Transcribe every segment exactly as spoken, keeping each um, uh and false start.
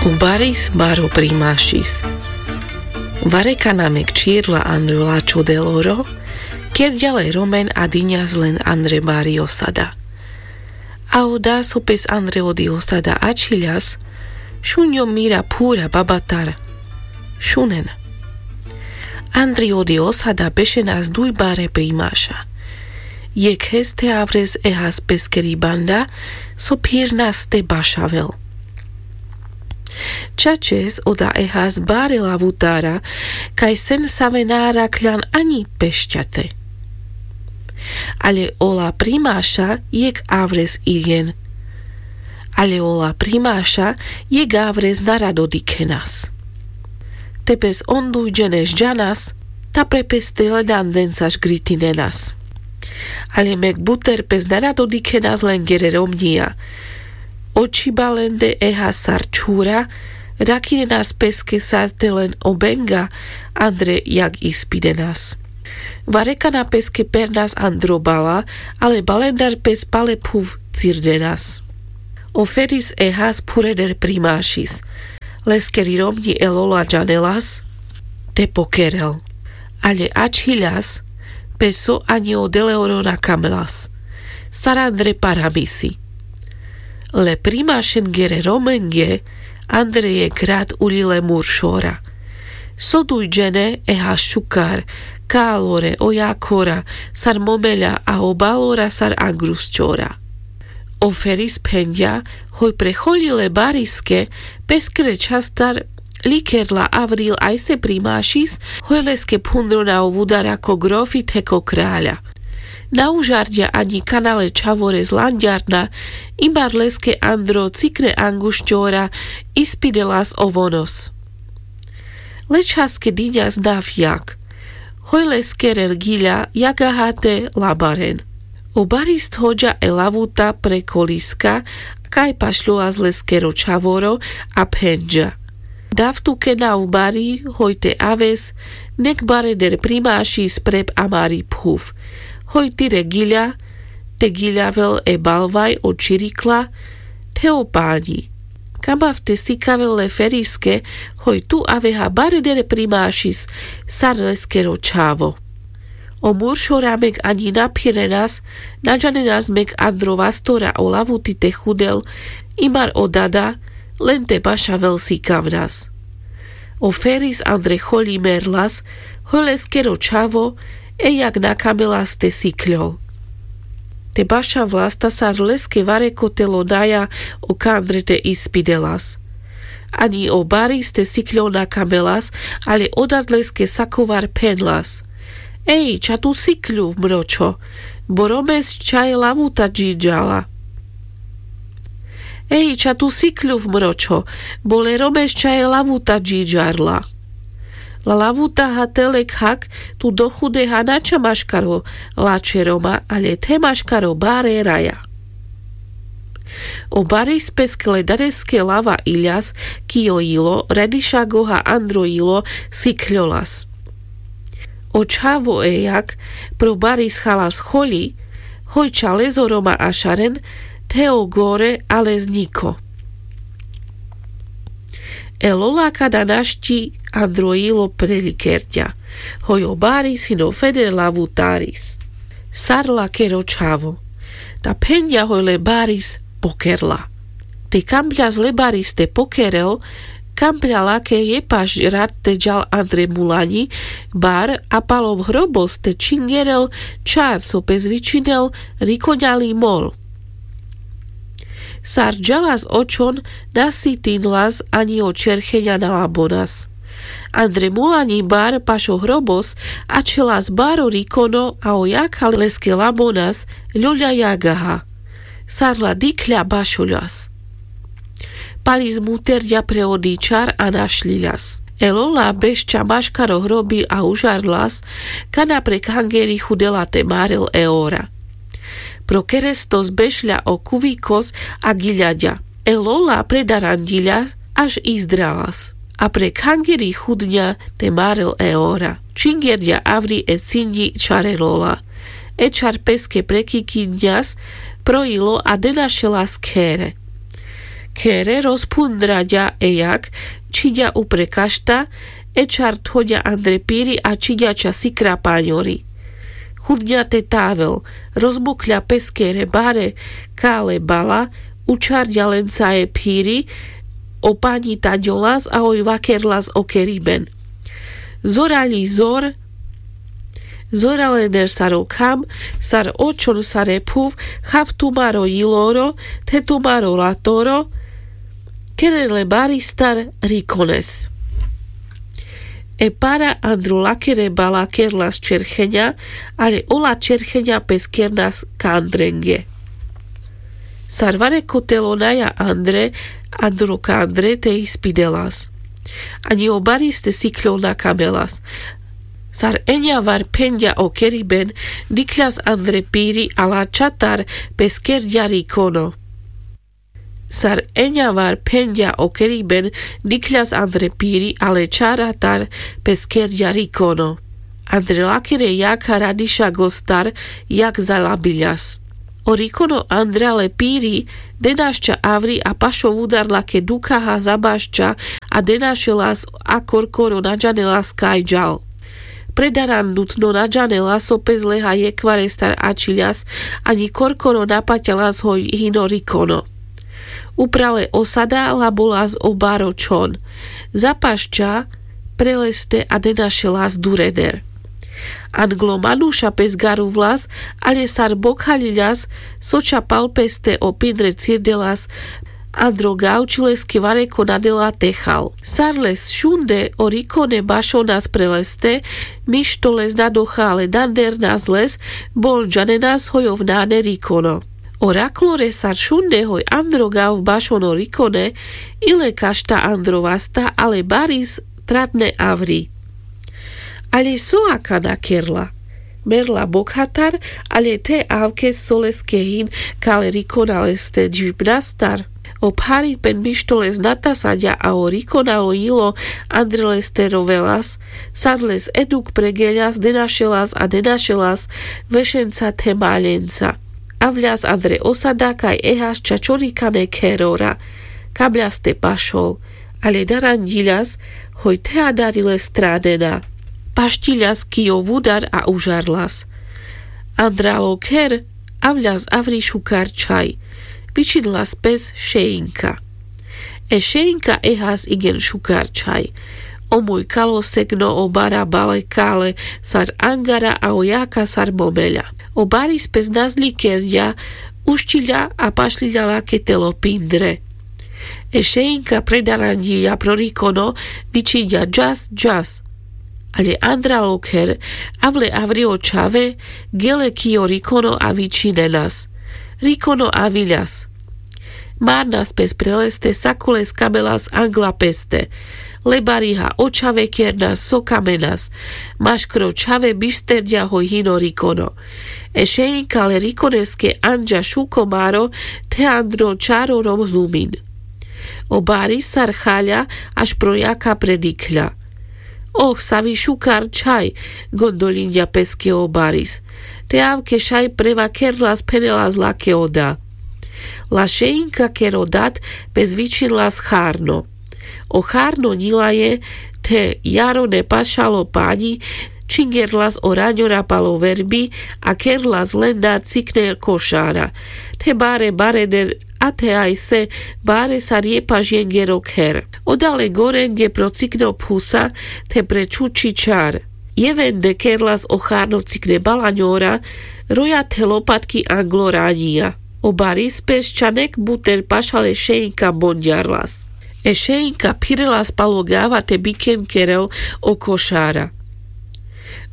O baris baro primašis. Varekana mek čhirla andre lačho deloro. Kerďa le romen a diňas len andre bari osada. A o da so pes andre odi osada ačhiľas. Šuňo mira phura babatar. Šunen. Andri odi osada bešenas duj bare primaša. Jekhes te avres ehas peskeri banda so phirnas te bašavel. Čačes oda ehas bare lavutara kaj sen save na arakľan aňi pešťate. Ale ola primaša jek avres irjen. Ale ola primaša jek avres na rado dikhenas. Te pes on dujdžene žďanas ta pre pes te ledanden sa žgritinenas. Ale mek buter pes na rado dikhenas lengere romňija. Oči balende ehas sar čhura. Rakinenas peske sar te len obenga andre jak ispidenas. Varekana peske pernas andro bala. Ale balendar pes pale phuv cirdenas. O feris ehas phureder primašis. Leskeri romňi e lola džanelas te pokerel. Ale ačhiľas pes so aňi o deleoro na kamelas. Sar andre paramisi. Le primašengere romenge andre jek rat uľile muršora. So dujdžene ehas šukar, kalore o jakora sar momeľa a o balora sar angrusčora. O feris phenďa hoj pre choľi le bariske peskere čhastar likerla avril ajse primašis. Hoj leske phundro na o vudara ko grofi the ko kraľa. Na užarďa aňi kana le čhavore zlanďarna. Imbar leske andro cikne anguščora ispidelas o vonos. Le čhaske diňas nav jak. Hoj leskere giľa jagaha te labaren. O baris thoďa e lavuta pre koliska kaj pašľolas leskero čhavoro a phenďa. Dav tuke nav bari hoj te aves nek bareder primašis prep amari phuv. Hoj tire giľa te giľavel e balvaj o čirikla the o paňi. Kamav te sikavel le feriske hoj tu aveha bareder primašis sar leskero čhavo. O muršora mek aňi na phirenas. Na džanenas mek andro vastora o lavuti te chudel imar o dada len te bašavel sikavnas. O feris andre choľi merlas hoj leskero čhavo e jak na kamelas te sikľol. Te bašavlas ta sar leske varekotelo naja o kandre te ispidelas. Aňi o baris te sikľol na kamelas. Ale o dad leske sakovar phenlas. Ej ča tu sikľuv mročho, bo romes ča e lavuta džidžala. Ej ča tu sikľuv mročho, bo le romes ča e lavuta džidžarla. La lavuta ha te le khak tu dochudeha na ča maškaro lačhe roma ale the maškaro bare raja. O baris peske le dareske lava iľas ki o jilo redišagoha andro jilo sikľolas. O čhavo e jak pro baris chalas choľi hoj ča lezo roma ašaren the o gore a les ňiko. E lola kada našti andro jilo prelikerďa. Hoj o baris hino feder lavutaris. Sar lakero čhavo. Ta phenďa hoj le baris pokerla. Te kampľas le baris te pokerel kampľa lake jepaš rat te džal andre mulaňi bar a pal o hrobos te čhingerel čar so pes vičinel rikoňali mol. Sar džalas očhon na sitinlas aňi o čercheňa na labonas. Andre mulaňi bar paš o hrobos ačhelas baro rikono a o jakha leske labonas. Ľoľa jagaha. Sar la dikhľa bašoľas. Palis muterďa pre odi čar a našľiľas. E lola bešča maškaro hrobi a užarlas kana pre khangeri chudela te marel e ora. Pro kerestos bešľa o kuvikos a giľaďa. E lola predaranďiľa až izdralas. A pre khangeri chudňa te marel e ora. Čhingerďa avri e cinďi čare lola. E čar peske prekikiňas pro jilo a denašelas khere. Khere rozphundraďa e jak čhiďa upre kašta. E čar thoďa andre piri a čhiďa ča sikra paňori. Chudňa te tavel, rozbokľa pes khere bare kale bala, učarďa lenca e phiri o paňi taďolas a oj vakerlas o keriben. Zorali zor. Zoralener sar o kham, sar o čhon sar e phuv, chav tumaro jiloro, the tumaro latoro. Keren le baristar rikones. E para andro lakere bala kerlas čercheňa, ale ola čercheňa pes kernas kandrenge. Sar vareko telo naja andre, andro kandre te ispidelas. Aňi o baris te siklo na kamelas. Sar eňa var phenďa o keriben, dikhľas andre piri a lačatar pes kerďa rikono. Sar eňa var phenďa o keriben, dikhľas andre piri a lečaratar pes kerďa rikono. Andre lakere jakha radiša gostar, jak zalabiľas. O rikono andra le piri denašča avri a pašo vudar lake dukhaha zabašča a denašelas a korkoro naďanelas kaj ďal. Predarandutno naďanelas o pes leha jekvarestar ačhiľas, aňi korkoro napaťalas hoj hino rikono. Uprale osada labolas o baro čhon. Zapašča pre leste a denašelas dureder. Anglo manuša pes garuvlas, ale sar bokhaľiľas, soča pal peste o pindre cirdelas. Andro gavči leske vareko nadela te chal. Sar les šunde o rikone bašonas pre leste, mišto les nadocha ale dandernas les, bol džanenas hoj ov nane rikono. O raklore sar šunde hoj andro gav bašon o rikone, ile kašta andro vasta ale baris tratne avri. Ale so akana kerla? Merla bokhatar, ale te avkes so leske hin kale rikona leste džvipnastar. O pharipen mišto les natasaďa a o rikona o jilo andre leste rovelas. Sar les eduk pregeľas denašelas a denašelas vešenca the maľenca. Avľas andre osada kaj ehas ča čorikane kherora. Kabľas te pašol, ale daranďiľas hoj the adari les stranena. Pašťiľas ki o vudar a užarlas. Andral o kher, avľas avri šukar čhaj. Vičinlas pes šeinka. E šeinka ehas igen šukar čhaj. O muj kalo segno o bara bale kale sar angara a o jaka sar momeľa. O baris pes nazľikerďa, ušťiľa a pašľiľa lake telo pindre. E šeinka predaranďiľa pro rikono, vičinďa džas džas. Ale andral o kher, avle avri o čhave, gele ki o rikono a vičine nas. Rikono aviľas. Marnas pes pre leste sako les kamelas angla peste. Le bariha o čhave kernas so kamenas. Maškro čhave bišterďa hoj hino rikono. E šeinka le rikoneske anďa šuko maro, the andro čaro rozumin. O baris sar chaľa, aš pro jaka predikľa. Oh, savi šukar čhaj, gondoľinďa peske o baris. Te avke šaj prevakerlas phenelas lake o da. La šeinka ker o dat pes vičinlas charno. O charno ňilaje, the jaro nepašalo paňi, čingerlas o raňora palo verbi a kerlas len da cikne košara. The bare bareder a the ajse bare sar jepaš jenger o kher. Oda le gorenge pro cikne o phusa, the pre čuči čar. Jevende kerlas o charno cikne balaňora, roja the lopatki anglo raňija. O baris pes ča nek buter pašal e šeinka bonďarlas. E šeinka phirelas palo gava te bikem kerel o košara.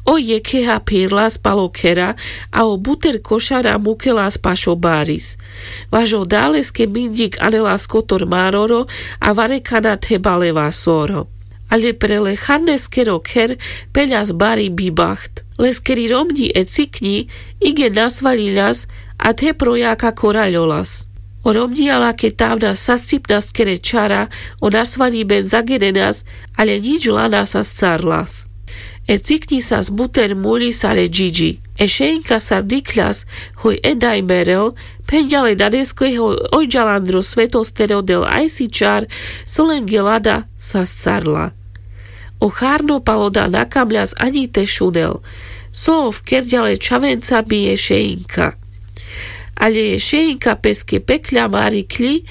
O jekheha phirlas palo khera, a o buter košara mukelas paš o baris. Vaš o da leske minďik anelas kotor maroro, a varekana the bale vasoro. Ale pre le charneskero kher peľas bari bibaht. Leskeri romňi e cikňi igen nasvaľiľas, a the pro jaka koraľolas. O romňija lake tavna sascipnaskere čara, o nasvaľiben zagenenas, ale ňič lana sascarlas. E cikňi sas buter muľi sar e džiďi. E šeinka sar dikľas hoj e daj merel, phenďa le danesko hoj ojdžal andro svetos te rodel ajsi čar, so lenge lada sascarla. O charno pal oda na kamľas aňi te šunel. So ov kerďa le čhavenca bi e šeinka. Aľe e šeinka peske pekľa marikľi,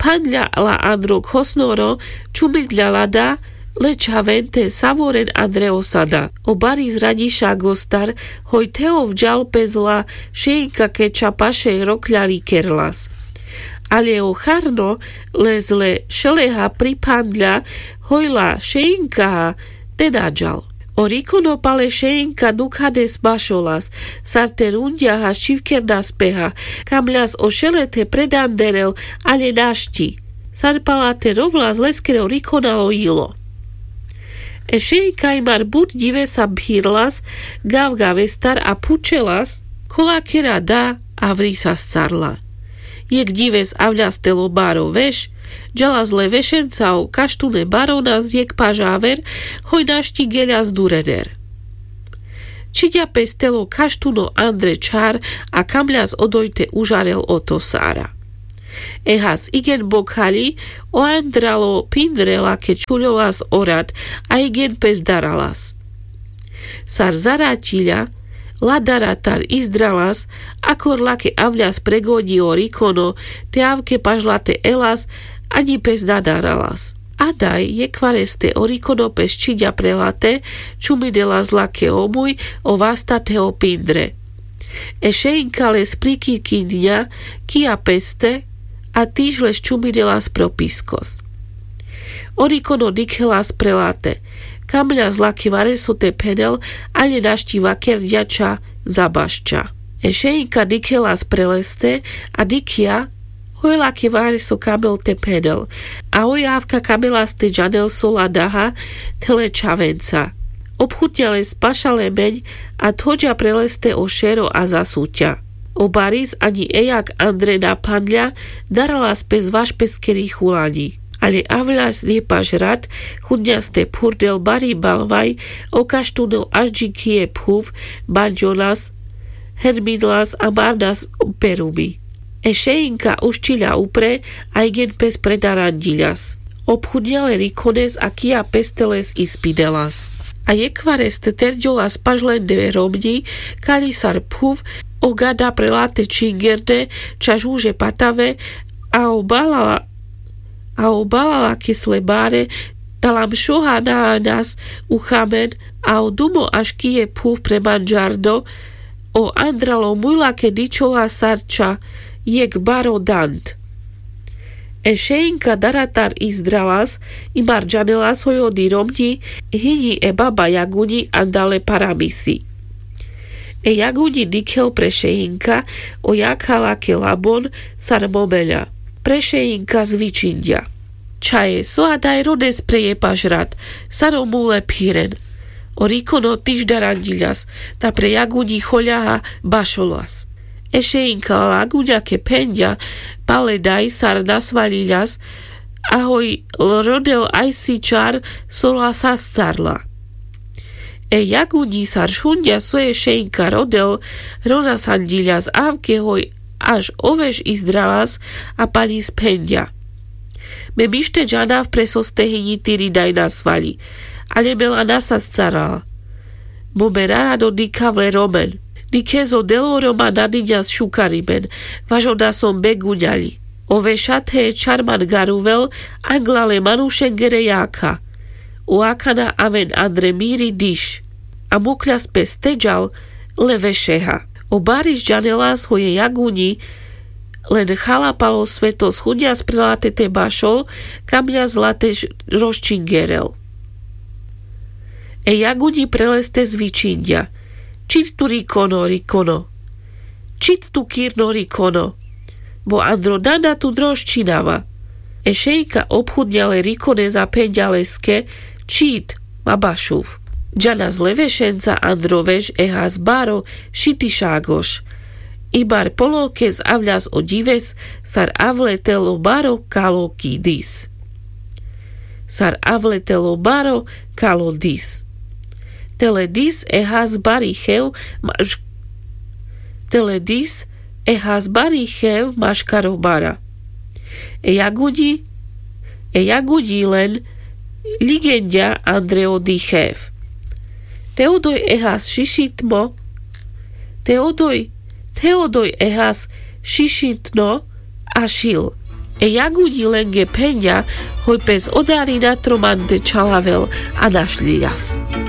phanďa la andro khosnoro, čumidľa lada, le čhaven te savoren andre osada. O bari zraďiša gostar hoj te ovďal pes la šeinka keča paše rokľa likerlas. Aľe o charno le zle šeleha priphanďa hoj la šeinkaha te naďal. O rikono pal e šeinka dukhades bašolas, sar te runďaha ščivkerna speha, kamľas o šele te predanderel, aľe našti. Sar pala te rovlas leskero rikona lojilo. E šeinka imar but ďivesa bhirlas, gavgavestar a phučelas, kola kera da avri sascarla. Jekh ďives avľas telo baro veš, ďalas le vešenca o kaštune baronas jekh pažaver, hoj našti geľas durener. Čhiďa pes telo kaštuno andre čhar, a kamľas odoj te užarel oto sara. Ehas igen bokhaľi, o andralo pindre lake čuľolas o rad, a igen pes daralas. Sar zaraťiľa, la daratar izdralas, akor lake avľas pregoďi o rikono, te avke pažlate elas, aňi pes nadaralas. A daj jekhvareste o rikono pes čhiďa pre late, čumidelas lake omuj, o vasta te o pindre. E šeinka le sprikikinďa, kija peste, a tiž le ščumidelas pro piskos. O rikono dikhelas pre late, kamľas lake vareso te phenel, aľe našti vakerďa ča zabašča. E šeinka dikhelas pre leste, a dikhľa, hoj lake vareso kamel te phenel, a hoj avka kamelas te džanel so ladaha, te le čhavenca. Obchutňa les paša lemeň, a thoďa pre leste o šero a zasuťa. O baris aňi ejak andre na phanľa, daralas pes vaš peskeri chulaňi. Aľe avľas nepaš rad, chudňas te phurdel bari balvaj, o kaštune ažďi kije phuv, banďonas, herminlas a marnas perumi. E šeinka uščiľa upre, a igen pes predaranďiľas. Obchudňa le rikones a kija peste les ispidelas. A jekhvareste terďolas paš lende romňi, kaľi sar phuv, o gada pre late čingerde, ča žuže patave, a o balala, a o balala kes le bare, talam šoha na anas u chamen, a o dumo aš kije phuv pre manďardo, o andralo muľa ke dičola sar ča jekh baro dand. E šeinka daratar izdralas, imar džanelas hoj odi romňi, hiňi e baba jaguňi andale paramisi. E jaguňi dikhel pre šeinka, o jakha lake labon, sar momeľa. Pre šeinka zvičinďa. Čhaje, so adaj rodes pre jepaš rad, sar o mule phiren. O rikono tiž daranďiľas, ta pre jaguňi choľaha bašolas. E šeinka la jaguňa ke phenďa, pal e daj sar nasvaľiľas, a hoj rodel ajsi čar so la sascarla. E jaguňi sar šunďa so e šeinka rodel, rozasanďiľas avke hoj, až o veš izdralas, a paľi sphenďa. Me mište džanav pre soste hiňi tiri daj nasvaľi, aľe me la nasascarala. Mo me rarado dikhav le romen. Dikhes o delo roma nadiňas šukarimen, vaš oda som beguňaľi. O vešate e čar man garuvel, angla le manušengere jakha. O akana aven andre miri diš. A mukľas pes teďal le vešeha. O baris džanelas hoj e jaguňi, len chala pal o svetos chudňas pre late te bašol, kamňas late rozčingerel. E jaguňi pre leste zvičinďa. Čit tu rikono, rikono. Čit tu kirno, rikono. Bo andro danda tu drožčinava. E šejka obchudňa le rikones a phenďa leske: Čit, ma bašuv. Džanas le vešenca andro veš e has baro šitišagoš. Ibar poloke zavľas o ďives sar avletel o baro kalo ki dis. Sar avletel o baro kalo dis. Tele dis e has bari chev maš Te le dis e has bari chev maškaro bara. E jagudi e jagudi len ligenďa andre o di chev. Te odoj e has šišitmo te odoj te odoj e has šišitno a šil. E jagudi lenge phenďa hoj pes odarina tro man te čhalavel a našľiľas.